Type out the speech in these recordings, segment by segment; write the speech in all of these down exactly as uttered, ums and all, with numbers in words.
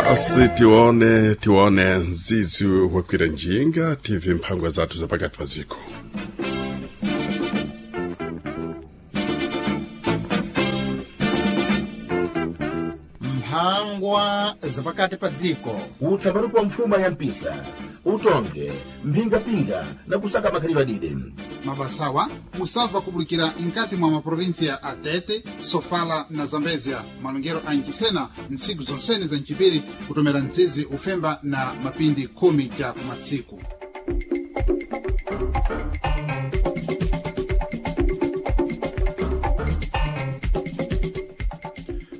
Basi tione tione nzizi wakwira njinga T V mphangwa zathu zapakati pa ziko. Mphangwa zapakati pa dziko. Utsapalu kwa mfuma ya mpisa utonge mphingapinga na kusaka makhalidwe adide. Mabasawa musabva kubulikira nkati mwa maprovinsia a Tete, Sofala na Zambezia, malongero a Ncisena, ntsiku zonsene za ncipiri kutomera mzizi ufemba na mapindi khumi ca kumatsiku.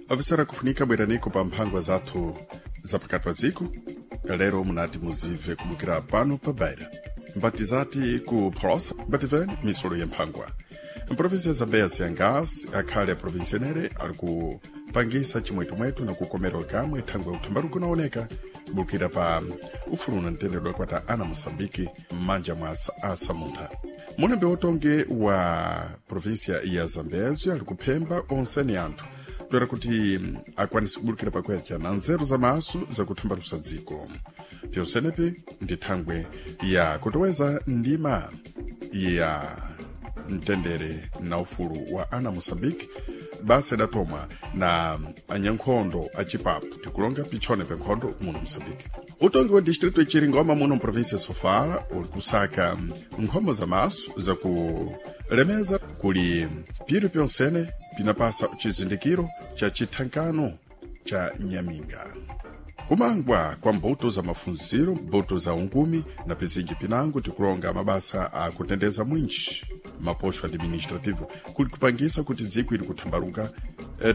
Avisera kufunika bweraniko pa mphangwa zathu zapakati pa ziko. Lero munati muzive kubukira pano pa Beira mbati zati ku Phosa mbativeni misolo ya mphangwa. Mprovinsia ya Zambezi yangasi akhale a provinsianere ali kupangisa chimwetumwetu na kukomera kamwe thangwe uthambaruko kunaoneka kubukira pa ufulu na mtendere kwata ana Moçambique m'manja mwa asamuntha. Munembe wotonge wa provinsia ya Zambezi ali kuphemba onseni anthu toera kuti akwanise kubulukira pakwecha na nzeru za maso zakuthambalusa dziko. Pyonsenepi ndi thangwe ya kutoweza ndima ya mtendere na ufulu wa ana Moçambique, basa idatomwa na anyankhondo achipapu tikulonga pichone penkhondo muno Moçambique. Utongi wa distrito ichiringoma muno mprovinsia Sofala uli kusaka nkhomo za maso zakulemeza kuli piri pyonsene pinapasa chizindikiro cha chithankano cha nyaminga. Kumangwa kwa mbuto za mafunziro, mbuto za ungumi na pizinji pinango tikulonga mabasa akutendeza mwinji maposho administrativo kuli kupangisa kuti dziko ili kuthambaluka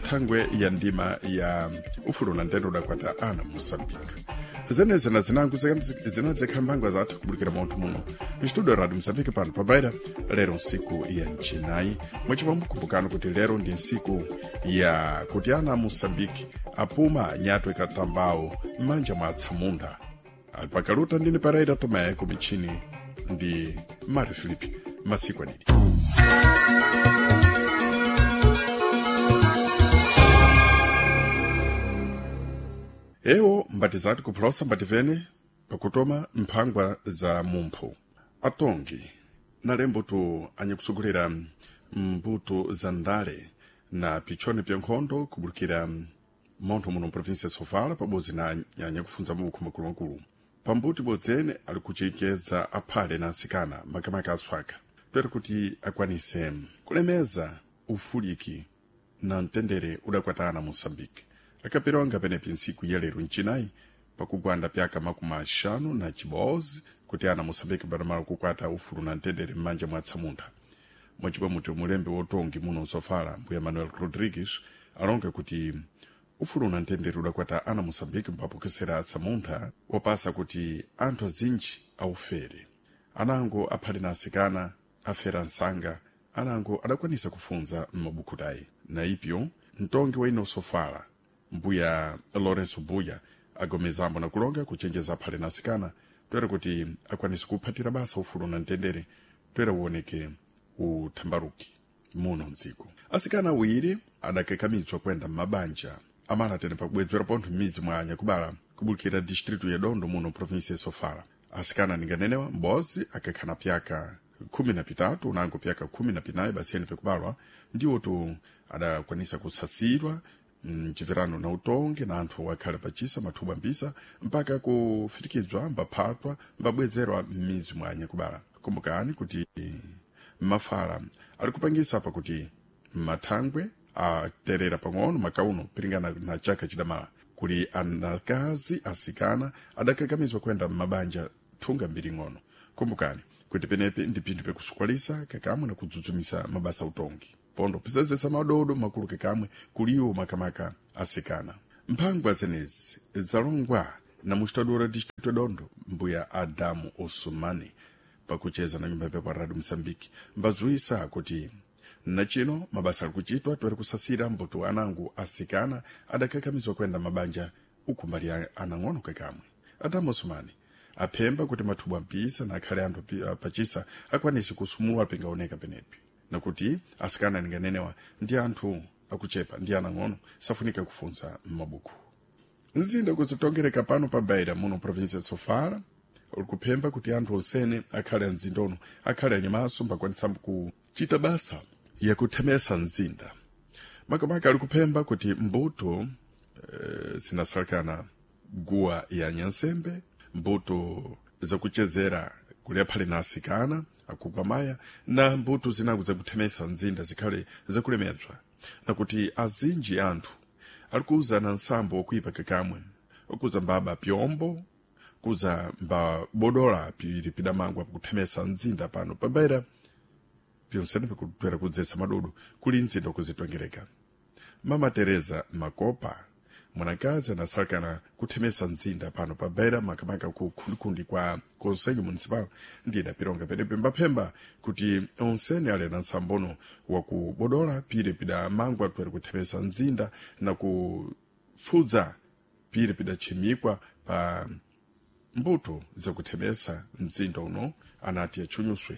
thangwe ya ndima ya ufulu na ntendo dakwata ana Moçambique. Zeneze na zinango zinadzekhala mphangwa zathu kubulukira munthu muno mstudio Radio Moçambique pano pa Beira lero nsiku ya mchinayi. Mwachipambukumbukano kuti lero ndi nsiku ya kuti ana Moçambique apuma nyato ikatambawo m'manja mwa atsamunda. Ali pakaluta ndine Pereira Tomé, ku michini ndi Mário Filipe. Masiku adidi. Ewo mbati zati kuphulosa mbativene pakutoma mphangwa za mumphu. Atongi nalembo tu anyakusogolera mbuto za ndale na pichone pya nkhondo kubulukira montho muno mprovinsia ya Sofala pabodzi na anyakufunza mabukhu makulumakulu pambuti bodzene ali kuchenjeza aphale na atsikana makamaka atswaka toera kuti akwanise kulemeza ufuliki na mtendere udakwatana Moçambique. Akaperonga penepi ntsiku ya lero mchinayi pakugwanda pyaka makumi axanu na chibodzi kuti ana Moçambique badamala kukwata ufulu na mtendere m'manja mwa atsamunda. Mwachipamutyo mulembe wotongi muno Sofala mbuya Manuel Rodrigues alonga kuti ufulu na mtendere udakwata ana Moçambique mpapokesera atsamuntha wapasa kuti anthu azinji aufere. Anango aphale na asikana afera nsanga, anango adakwanisa kufunza m'mabuku tayi. Na ipyo mtongi wa ino Sofala mbuya Lourenço Buya agomezambo na kulonga kuchenjeza aphale na asikana toera kuti akwanise kuphatira basa ufulu na mtendere toera uoneke uthambaruki muno mdziko. Asikana awiri adakakamizwa kwenda m'mabanja amala tene pakubwedzera pontho m'midzi mwa anyakubala kubulukira distrito ya Dondo muno provinsia ya Sofala. Asikana ninganenewa m'bozi akakhana pyaka khumi na pitatu unango pyaka khumi na pinayi basiyeni pekubalwa ndiwo tu adakwanisa kutsatsidwa mchipirano na utongi na anthu akhale pachisa mathubwa mbisa mpaka kufitikizwa mbaphatwa mbabwezerwa m'midzi mwa anyakubala. Kumbukani kuti mafala ali kupangisa apa kuti mathangwe aterera pang'ono makauno piringana na chaka chidamala kuli anakazi asikana adakakamizwa kwenda m'mabanja thunga mbiri ng'ono. Kumbukani kuti penepi ndi pinthu pekusukwalisa kakamwe na kudzudzumisa mabasa utongi pondo pisazesa madodo makulu kakamwe kuliwo makamaka asikana. Mphangwa zenezi zalongwa na mustadura distrito Dondo mbuya Adamu Osumani pakucheza na nyumba yapepo Radio Msambiki mbazuisa kuti nachino mabasa ali kuchitwa toera kusasira mbuto anango asikana adakakamizwa kwenda mabanja ukumbali anang'ono kakamwe. Adamu Osumani aphemba kuti mathubwa mpisa na akhale anthu pachisa akwanise kusumulwa pengaoneka penepi nakuti asikana ninganenewa ndi anthu akuchepa ndi anang'ono safunika kufunza m'mabuku. Mzinda kuzitongereka pano pa Beira muno província de Sofala uli kuphemba kuti anthu onsene akhale amzinda uno akhale anyamaso mbakwanisa kuchita basa yakuthemesa mzinda. Makamaka ali kuphemba kuti mbuto e, zinasalekana guwa ya nyansembe, mbuto zakuchezera kuli aphale na asikana akukwamaya na mbuto zinango zakuthemesa mzinda zikhale zakulemedzwa, nakuti azinji anthu ali kuza na nsambo wokuipa kakamwe okuza mbaba pyombo kuza mbabodola pili pidamangwa pakuthemesa mzinda pano pa Beira pyonsene pikutwera kudzetsa madodo kuli mzinda kuzitongereka. Mama Teresa Makopa mwanakazi anasalekana kuthemesa mzinda pano pa Beira makamaka ku khundikhundi kwa conselho municipal ndiye idapilonga penepe mbaphemba kuti onsene ali na nsambono wakubodola pili pidamangwa twere kuthemesa mzinda na kupfudza pili pidachimikwa pa mbuto zakuthemesa mzinda uno anati atchunyuswe,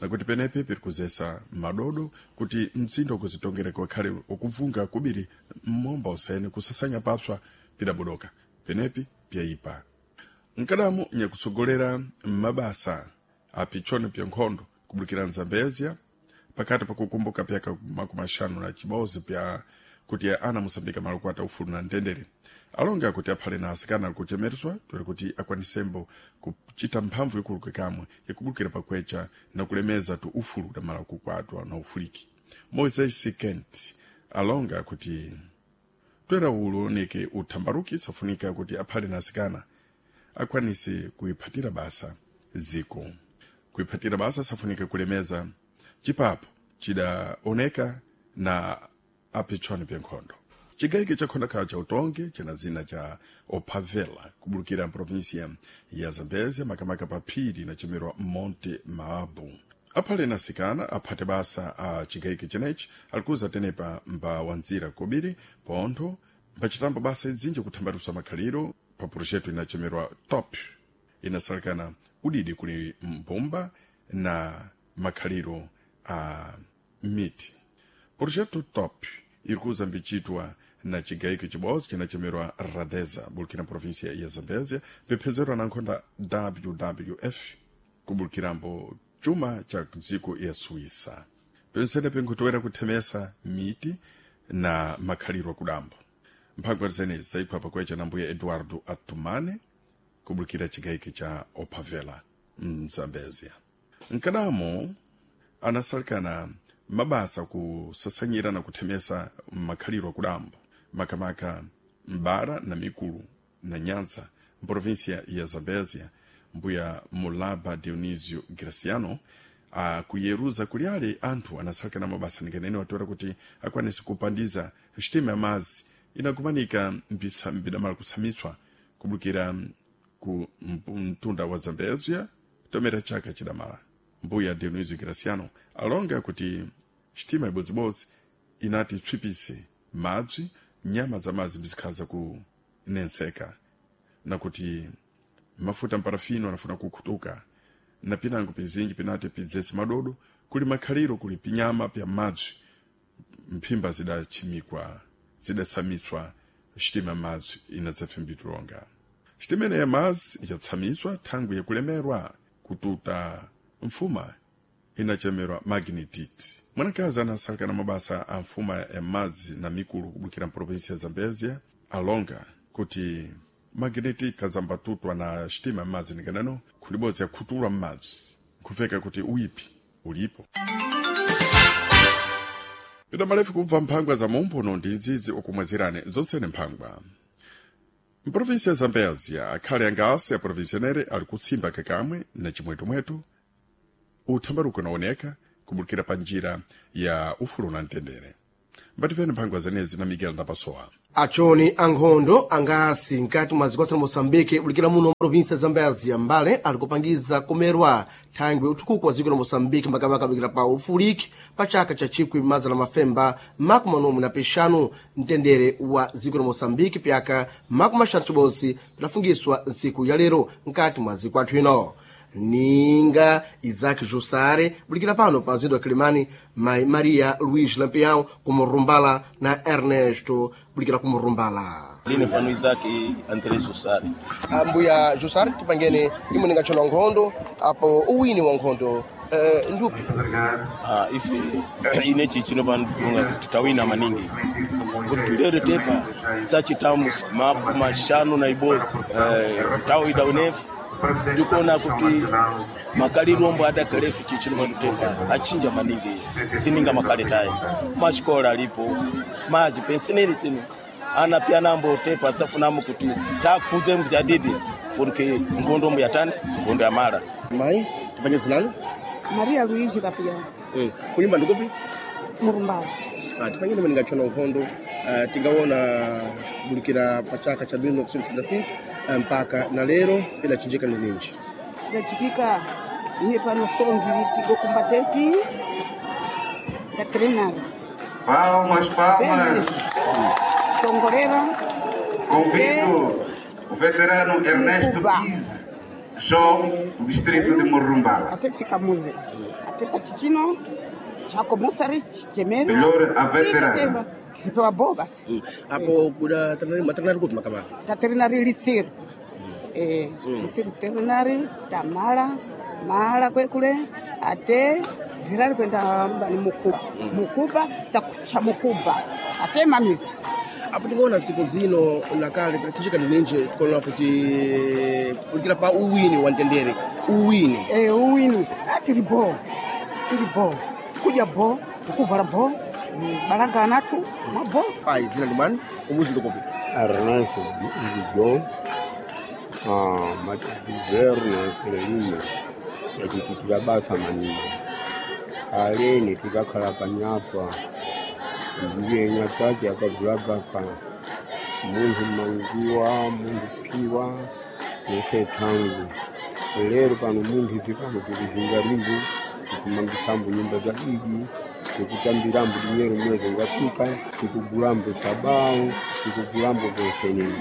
nakuti penepe piri kuzesa madodo kuti mzinda ukuzitongereka ukhale ukuvunga kubiri mmomba usene kusasanya papswa pidabodoka penepi pyayipa. Mkadamu nyakutsogolera mabasa apichoni pya nkhondo kubulukira Nzambezia pakati pakukumbuka pyaka makumi axanu na chibodzi pya kuti ana Moçambique malakuata ufulu na mtendere alonga kuti aphale na asikana ali kuchemereswa twere kuti akwanisembo kuchita mphamvu ikulu kamwe yakubulukira pakwecha na kulemeza tu ufulu da malakukwatwa na ufuliki. Moisés Sikent alonga kuti twera ulo nike uthambaruki safunika kuti aphale na asikana akwanise kuiphatira basa ziko kuiphatira basa safunika kulemeza chipapo chidaoneka na aphichoni pya nkhondo. Chigaike cha khondakhala cha utonge china zina cha Opavela kubulukira província ya Zambezia makamaka pa phiri inachemerwa Monte Maabu. Aphale na asikana aphate basa a chigaike chenechi alikuza tenepa mba wanzira kobiri pontho mbachitambo basa izinji kuthambalusa makhaliro pa projeto inachemerwa top inasalekana udidi kuli mbumba na makhaliro a miti. Projeto top irikuza mbichitwa na chigaike chibodzi chinachemerwa Radeza bulukira província ya Zambezia bipezerwa na nkhonda W W F kubulukirambo chuma cha dziko ya Suíça. Pensene pinkutowera kuthemesa miti na makhaliro akudambo. Mphangwa zenezi zayiphwa pakwecha na mbuya Eduardo Atumane kubulukira chigaike cha Opavela mZambezia. Mkadamo anasalikana mabasa kusasanyira na kuthemesa makhaliro akudambo makamaka mbara na mikulu na nyanza mprovíncia ya Zambezia mbuya Mulaba Dionisio Graciano akuyeruza kuli ale anthu anasalikana mabasa nikanene watoera kuti akwanise kupandiza sitima ya mazi inakumanika mbidamala kusamitswa kubulukira ku mtunda wa Zambezia tomera chaka chidamala. Mbuya Dionisio Graciano alonga kuti sitima ibodzibodzi inati psipise madzi nyama za madzi bizikhaza kunenseka nakuti mafuta mparafino anafuna kukhutuka na pinango pizinji pinati pidzetse madodo kuli makhaliro kuli pinyama pya madzi mphimba zidachimikwa zidasamitswa sitima madzi inadzapfimbitulonga. Sitima ene ya madzi ichatsamiswa thangwi yakulemerwa kututa mfuma inachemerwa magnetite. Mwanakazi anasalekana mabasa a mfuma ya madzi na mikulu kubulukira mprovinsia ya Zambezia alonga kuti magnetite kazambatutwa na sitima ya madzi nikaneno khundibodzi yakhutulwa m'madzi nkhufeka kuti uyipi ulipo. Pita malefu kubva mphangwa za mumphuno ndi nzizi okumwezerani zonsene mphangwa. Mprovinsia ya Zambezia akhale angasi a provinsionere ali kutsimba kakamwe na chimwetumwetu uthambaruko unaoneka kubulukira pa njira ya ufulu na mtendere. Mbatifeni mphangwa zenezi na Miguel Ndapasowa. Achoni ankhondo angasi nkati mwa zikwatsa la Moçambique bulikira muno província ya Zambezia mbale ali kupangiza kumerwa thangwi uthukuko wa dziko la Moçambique makamaka bulikira pa ufuliki pa chaka cha chikwi mazana mafemba makumi manomwe na pixanu mtendere wa dziko la Moçambique pyaka makumi axanu cibodzi pidafungiswa ntsiku ya lero nkati mwa dziko athu ino. Ninga Isaac Jussare bulikira pano pa mzinda wa Kilimani mai Maria Luís Lampião kumurumbala na Ernesto bulikira kumurumbala. Line pano Isaac André Jussari. Ambuya Jussari, tipangene imwe ningatchona nkhondo apo uwini wa nkhondo eh, njupi Ah, ife ine chichino pano tikunga kuti tawina maningi kuti tulere tepa sachitamu mapu mashanu na ibosi eh, tawida unefu ndikuona kuti makaliro ombo adakalefu chichino pano tepa achinja maningi sininga makale tayi mashikola alipo mazi pensinili chino ana pia nambo tepa safunamo kuti takuze mjadidi porque nkhondo mbu yatani nkhondo ya mara mayi tipanye dzinanu Maria Luiz Rapião, eh, kunyumba ndikupi Murumbau. Ah, tipangene imwe ningatchona nkhondo ah, tingaona bulikira pa chaka cha mil novecentos e sessenta e cinco ah, mpaka na lero idachinjika ni ninji Ndachitika iye pano songi tigo combatente da treinar. Palmas, palmas. Songorera, Convido o veterano Ernesto Pise João, do distrito de Morrumbala. até fica música. Até patichino, chaco musari, chemero. Melhor a veterana. Kipewa bobas. apo kuda matrenari kupi makamaka Da treinar lisir. Eh, lisir treinar, tamala, mala kwekule, ate virari kwenda mbani mukuba. Mukuba, takucha mukuba. Ate mamisi. apo tingaona tsiku zino nakale pidachinjika ni ninji tikuona kuti bulikira pa uwini wa mtendere uwini Eh, uwini Ah, tiri bo tiri bo kudya bo kukuvala bo mm, balanga anathu mwa bo payi dzina ndi mwani umuzi ndikupi Ernesto John, ah, matigoverno Frelimo yatipitira basa maningi aleni tikakhala panyapa ndiye nyatati akavulagaka munthu mangiwa munthu phiwa nese thangu lero pano munthu izi pano tikuzinga limbu tikumangisambo nyumba za idi tikutambirambo dinyero mwezi ungafika tikugulambo sabawu tikugulambo vensenini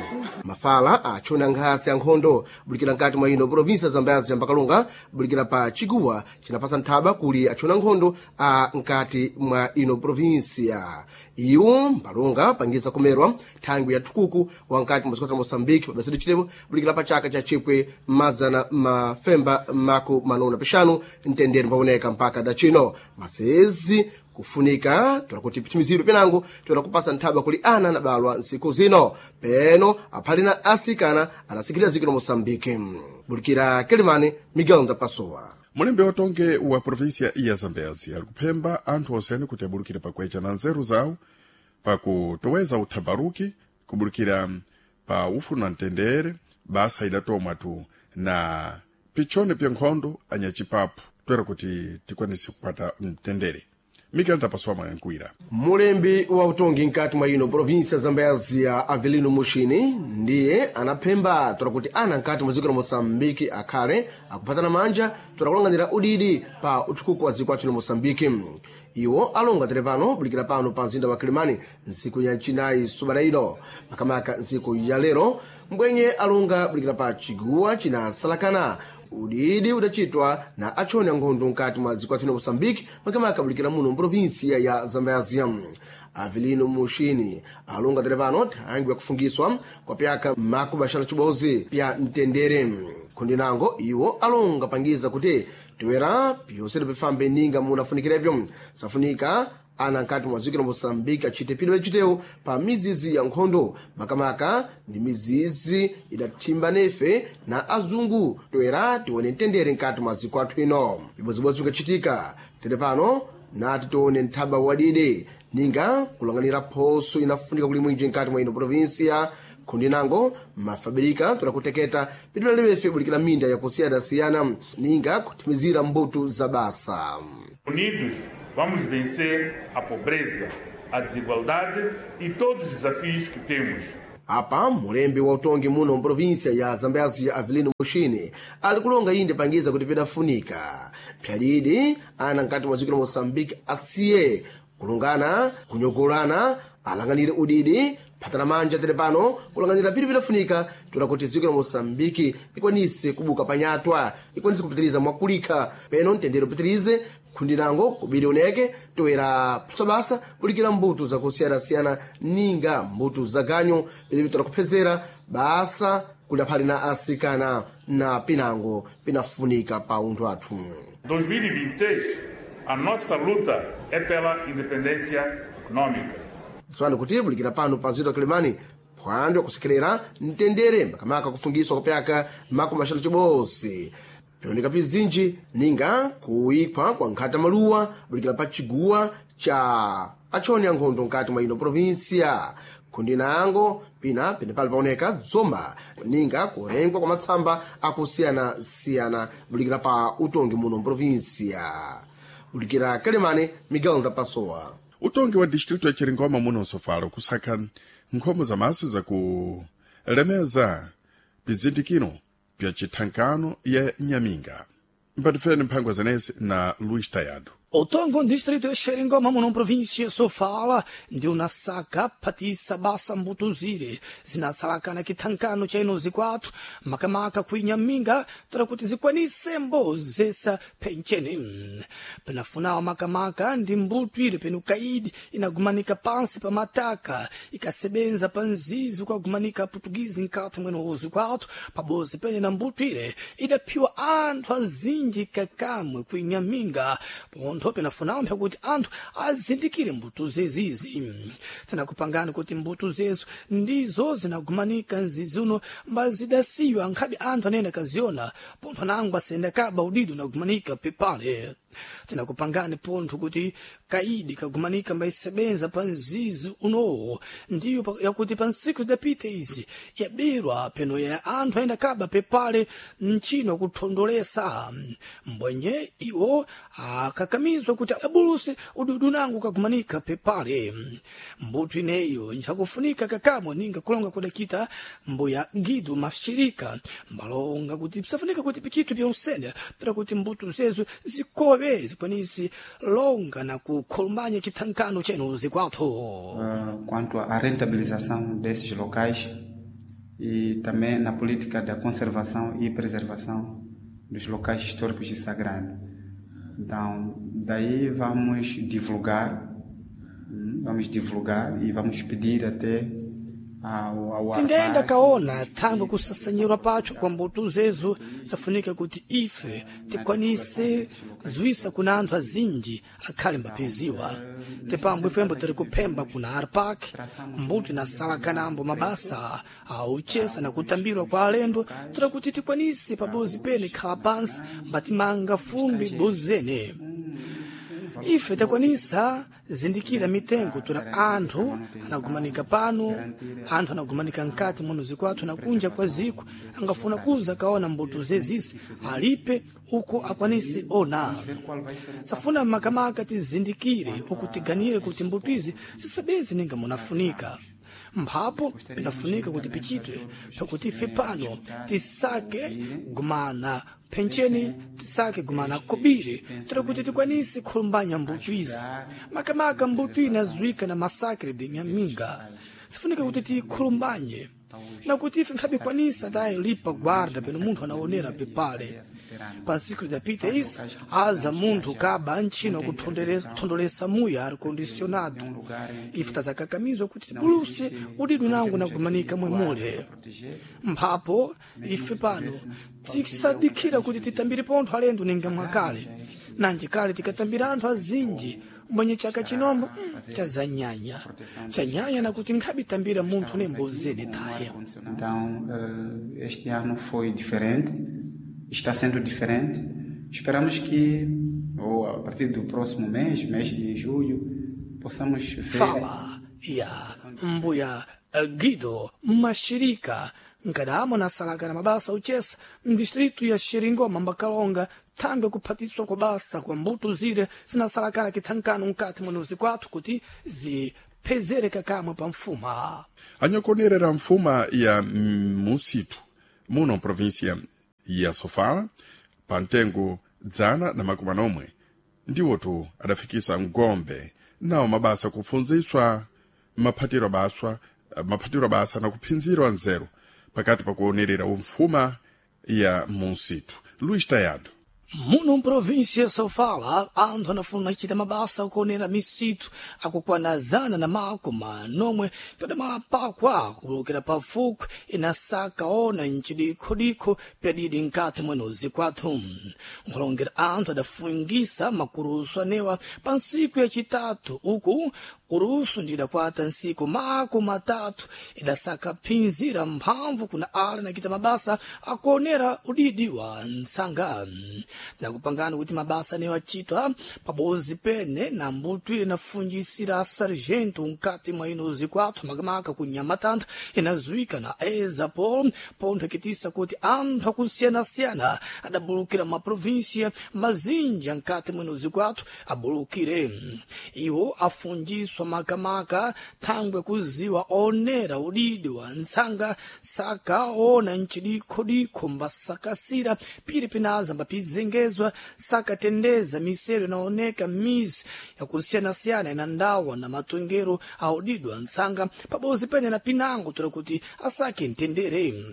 mafala achona nkhasi ya nkhondo bulikira nkati mwa ino provinsia zambezi mbakalunga bulikira pa chiguwa cinapasa nthaba kuli achona nkhondo a nkati mwa ino provinsia iwo mbalunga pangiza kumerwa thangwi ya thukuku wa nkati mwa dziko la moçambique pabasidwe chilepo bulikira pa chaka cha chipwe mazana mafemba mako manona pixanu mtendere mpaoneka mpaka dacino masezi kufunika tola kuti pitimizidwe penango tola kupasa nthaba kuli ana anabalwa ntsiku zino peno aphali na asikana anasikirira dziko la moçambique bulikira kelimane miguel ndapasowa mulembe watonge wa província ya zambezi ali kuphemba anthu osene kuti abulukire pakwecha na nzeru zawo pakutoweza uthabaruki kubulikira pa ufuna mtendere basa idatomwa tu na pichone pya nkhondo anyachipapu toera kuti tikwanise kupata mtendere miguel ndapasowa mwayankuira mulembi wa utongi nkati mwa ino província zambezia avelino mushini ndiye anaphemba tola kuti ana nkati mwa dziko la moçambique akhale akuphatana manja tola kulang'anira udidi pa uthukuku wa dziko athu la moçambique iwo alonga tere pano bulikira pano pa mzinda wa kilimani ntsiku ya chinayi subata ino makamaka ntsiku ya lero mbwenye alonga bulikira pa chiguwa chinasalakana udidi udachitwa na achoni ankhondo nkati mwa dziko athu la moçambique makamaka bulikira muno mprovinsia ya zambezia avelino mushini alonga tere pano thangwi yakufungiswa kwa pyaka makubaxala cibozi pya mtendere khundi nango iwo alonga pangiza kuti toera pyonsene pifambe ninga munafunikirepyo safunika ana nkati mwa dziko la moçambique achite pidwe chitewo pa mizizi ya nkhondo makamaka ndi mizizi idathimba nefe na azungu toera tione mtendere nkati mwa dziko athu ino pibodzibodzi pikachitika tere pano nati tione nthaba wadidi ninga kulang'anira phoso inafunika kuli mwinji nkati mwa ino provinsia khundi nango mafabirika tola kuteketa pitulalewefe bulikira minda yakusiyanasiyana ninga kuthimizira mbuto za basa Unidos, vamos vencer a pobreza, a desigualdade e todos os desafios que temos. apa mulembi wa utongi muno mprovinsia ya zambezi avelino mushini ali kulonga inde pangiza kuti pidafunika pyalidi ana nkati mwa dziko la moçambique asiye kulungana kunyogolana alang'anire udidi phatana manja tere pano kulang'anira pili pidafunika tola kuti dziko la moçambique ikwanise kubuka panyatwa ikwanise kupitiriza mwakulikha peno mtendere upitirize Khundirango kubiri oneke toera psabasa kulikira mbuto zakusiyanasiyana ninga mbuto za ganyo pilipitira kuphezera basa kudaphali na asikana na pinango pinafunika pa unthu athu. dois mil e vinte e seis, a nossa luta é pela independência econômica. Tsopano kuti bulikira pano pa nzito Kilimani phwando yakusekerera mtendere makamaka kufungiswa kupyaka makumi axanu chibodzi pioneka pizinji ninga kuikhwa kwa nkhata maluwa bulikira pa chiguwa cha achoni ankhondo nkati mwa ino provinsia. Khundinango pina penepali paoneka dzomba ninga kurengwa kwa matsamba akusiyanasiyana bulikira pa utongi muno mprovinsia. Bulikira Kalemane, Miguel Ndapasowa. Utongi wa distrito ya Chiringoma muno Sofala kusaka nkhomo za maso zakulemeza pizindikiro pya chithankano ya Nyaminga. Mpatifeni mphangwa zenezi na Luís Tayado. Otongo distrito ya Xeringoma muno província Sofala ndi unasaka phatisa basa mbutuzire zinatsalakana kithankano cha ino zikwathu makamaka kuinyaminga tara kuti zikwanise mbozesa phencheni penafunawo makamaka ndi mbuto ile penu kaidi inagumanika pansi pa mataka ikasebenza pa nzizi ukagumanika Portuguese nkati mweno uzikwathu pabozi pene na mbuto ile idaphiwa anthu azinji kakamwe kuinyaminga pontho penafunawo mpyakuti anthu azindikire mbuto zezizi. Tinakupangani kuti mbuto zezo ndizo zinagumanika nzizi uno mbazidasiywa nkhabe anthu anene akaziona pontho anango asenda kaba udido unagumanika pepale. Tinakupangani pontho kuti kaidi kagumanika mbaisebenza pa nzizi unowo ndiyo pa- yakuti pa nsiku zidapita izi yaberwa peno ya anthu ayenda kaba pepale mchino kuthondolesa mbwenye iwo akakamizwa kuti abuluse ududu nangu kagumanika pepale. Mbuto ineyo nchakufunika kakamwe ninga kulonga kudakita mbuya Guido Mashirika mbalonga kuti pisafunika kuti pikitu pyonsene tira kuti mbuto zezo zikowe zikwanisi longa na kukhulumbanya chithankano chenu zikwathu. uh, quanto à rentabilização desses locais e também na política da conservação e preservação dos locais históricos e sagrados. Então, daí vamos divulgar, hum, vamos divulgar e vamos pedir até ao, ao Tingaenda ARPAC kaona thangwe kusasanyirwa pacho kwa mbuto zezo safunika kuti ife tikwanise ziwisa kuna anthu azinji akhale mbapeziwa tipambo ifembo tiri kuphemba kuna Arpak mbuto inasalakanambo mabasa auchesa na kutambirwa kwa alendo tira kuti tikwanise pabozi pene khala pansi mbatimanga fumbi bozene. Ife takwanisa zindikira mitengo tura anthu anagumanika pano, anthu anagumanika mkati muno zikwathu na kunja kwa ziko angafuna kuza kaona mbuto zezisi alipe uko akwanise ona. Safuna makamaka tizindikire uku tiganire kuti mbuto izi zisabezi ninga munafunika mphapo pinafunika kuti pichitwe pakuti ife pano tisake gumana phencheni tisake gumana kobiri tira kuti tikwanise khulumbanya mbuto izi makamaka mbuto inazuika na masakre de Nyaminga. Sifunika kuti tikhulumbanye na kuti ife nkhabikwanisa tayi lipa guarda peno munthu anaonera pepale. Pa nsiku idapita isi aza munthu kaba ntchino kuthondolesa muya ar condicionado ife tazakakamizwa kuti tibuluse udidu nangu nagumanika mwemule mphapo. Ife pano tisadikira kuti titambire pontho alendo ninga mwakale nanji kale tikatambira anthu azinji mbwenye chaka chinombo mm, chazanyanya chanyanya nakuti nkhabitambira munthu nembozene taye. Então, eh, este ano foi diferente, está sendo diferente. Esperamos que, ou a partir do próximo mês, mês de julho, possamos ver. Fala ya mbuya eh, Guido Mashirika nkadamo nasalakana mabasa uchesa mdistritu ya Xiringoma mbakalonga thangwe kuphatiswa kwa basa kwa mbuto zire zinasalakana kithankano mkati mwa nuzi kwathu kuti ziphezere kakamwe pa mfuma. Anyakuonerera mfuma ya musitu muno província ya Sofala pa mtengo dzana na makumi anomwe ndiwotu adafikisa ngombe nawo mabasa kufunziswa maphatiro baswa maphatiro basa na kuphinzirwa nzeru pakati pakuonerera mfuma ya musitu. Luís Tayado. Muno mprovinsia Sofala anthu anafuna kuchita mabasa okuonera misitu akukwana zana na makumi nomwe tadamapakwa kulukira pafupi inasaka ona mcidikhodikho pyadidi nkati mwenozi kwathu. Nkhulongera anthu adafungisa makurusu anewa pa ntsiku yacitatu uku kurusu ndidakwata ntsiku makumi matatu idasaka phinzira mphamvu kuna ala nakita mabasa akuonera udidi wa ntsanga. Nakupangani kuti mabasa anewo acitwa pabozi pene na mbuto ile inafunjisira sargento nkati mwa ino zikwathu makamaka ku Nhamatanda inazuika na Ezapol pontho ikitisa kuti anthu akusiyana-siyana adabulukira maprovinsia mazinja nkati mwino zikwathu abulukire. Iwo afunjiswa makamaka thangwe kuziwa onera udidi wa ntsanga saka ona mcidikhodikho mbasakasira pili pinaza mbapizengezwa sakatendeza misero inaoneka mizi yakusiyana-siyana ina ndawa na matongero audidwa ntsanga pabozi pene na pinango tola kuti asake mtendere.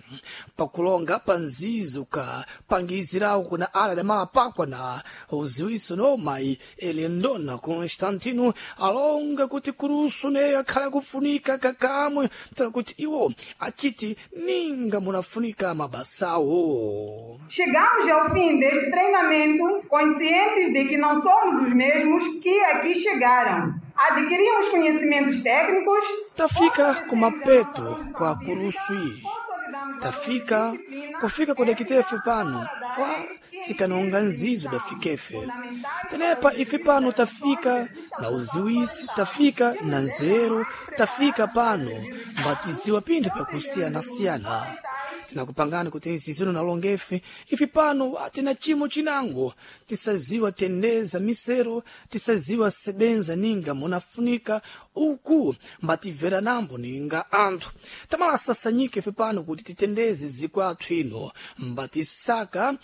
Pakulonga pa nzizo ka pangizirawo kuna ala damapakwa na uziwiso no mayi Elendona Constantino alonga kuti kurusu neyo akhala kufunika kakamwe tola kuti iwo achiti ninga munafunika mabasawo. Chegamos ao fim deste treinamento conscientes de que não somos os mesmos que aqui chegaram. Adquirimos conhecimentos técnicos. Tafika kumapeto kwa kurusu iyi tafika kufika kudakitefe pano kwa sikanonga nzizo dafikefe tenepa ife pano tafika na uziwisi tafika na nzeru tafika pano mbatiziwa pinthu pyakusiyana-siyana. Tinakupangani kuti nzizino nalongefe ife pano atina chimo chinango tisaziwa tendeza misero tisaziwa sebenza ninga munafunika uku mbatimvera nambo ninga anthu tamala sasanyike ife pano kuti titendeze zikwathu ino mbatisaka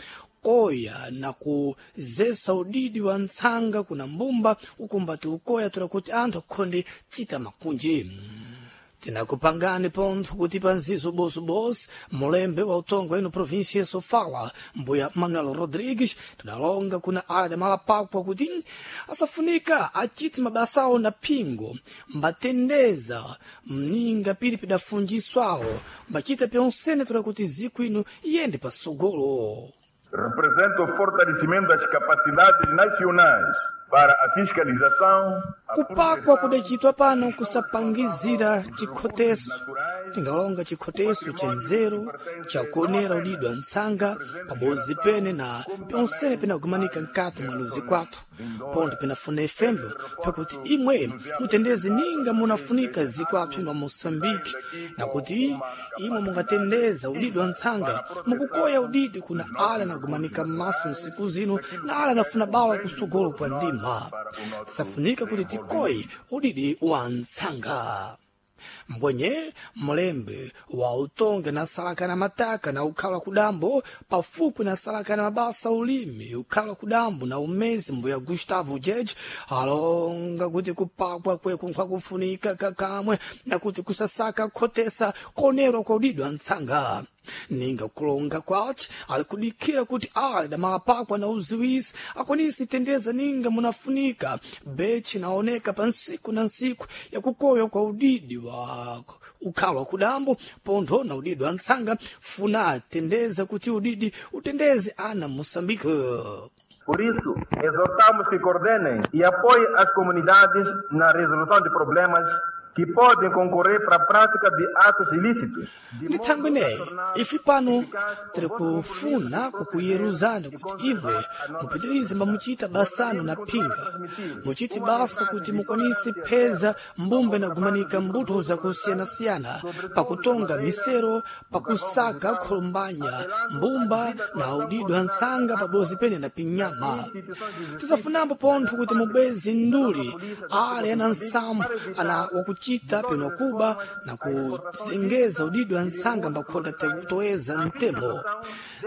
koya na kuzesa udidi wa ntsanga kuna mbumba uku mbati ukoya tola kuti anthu akhonde chita makunji. Tinakupangani pontho kuti panzizo bosobosi mulembe wa utongo ino província Sofala mbuya Manuel Rodrigues tidalonga kuna ala damalapakwa kuti asafunika achiti mabasawo na phingo mbatendeza mninga pili pidafunjiswawo mbachita pyonsene tola kuti ziku ino iyende pasogolo. Representa o fortalecimento das capacidades nacionais para a fiscalização. Kupakwa kudacitwa pano kusapangizira chikhoteso tingalonga chikhoteso cha nzeru chakuonera udidwa ntsanga pabozi pene na pyonsene pinagumanika nkati mwa luzi kwathu pontho pinafuna ifembo pakuti imwe mutendeze ninga munafunika zikwathu ino Moçambique na kuti imwe mungatendeza udidi wa ntsanga mukukoya udidi kuna ala nagumanika m'maso nsiku zino na ala nafuna bawa kusogolo kwa ndima tisafunika kuti tikoye udidi wa ntsanga. Mbwenye mlembe wa utonge na salaka na mataka na ukhala kudambo pafupi na salaka na mabasa ulimi ukhala kudambo na umezi mbuya Gustavo Jeje alonga kuti kupakwa kweku nkwakufunika kakamwe na kuti kusasaka khotesa konerwa kwa udidwa ntsanga. Ninga kulonga kwace ali kudikira kuti ali damalapakwa na uziwisi akwanisi tendeza ninga munafunika bechi naoneka pa nsiku na nsiku yakukoywa kwa udidi wa ukhalwa kudambo pontho na udidi wa ntsanga funa tendeza kuti udidi utendeze ana Moçambique. Por isso, exortamos que coordenem e apoiem as comunidades na resolução de problemas que podem concorrer para a prática de atos ilícitos. Ndi thangwi ineyi ife pano tiri kufuna kukuyeruzani kuti imwe mupitirize mbamuchita basano na phinga muchite basa kuti mukwanise pheza mbumba inagumanika mbuto zakusiyanasiyana pakutonga misero pakusaka kholombanya mbumba na udidwa ntsanga pabozi pene na pinyama. Tisafunambo pontho kuti mubweze nduli ale ana nsambo ana wakuchita peno kuba na kuzengeza udidwa ntsanga mbakhonda toeza mtemo.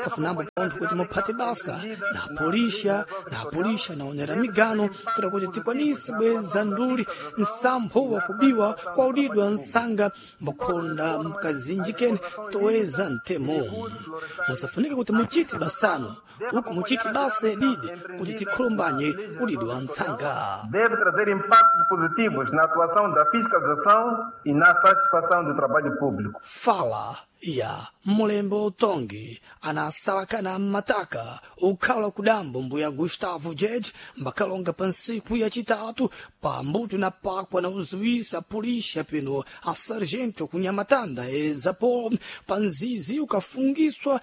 Tsafunambo pontho kuti muphate basa na apolisha na apolisha naonera migano toda kuti tikwanise bweza nduli nsampho wakubiwa kwa udidwa ntsanga mbakhonda mkazinjikeni toeza mtemo. Musafunike kuti muchite basano Uku muchiti basa didi kuti tikhulumbanye ulidi wa ntsanga. Deve trazer impactos positivos na atuação da fiscalização e na satisfação do trabalho público. Fala ya mulembo utongi anasalakana mmataka ukhala kudambo mbuya Gustavo Jej mbakalonga pa ntsiku yacitatu pambuto na pakwa na uziwisa pulisha peno a sargento kunyamatanda ezapo pa nzizi ukafungiswa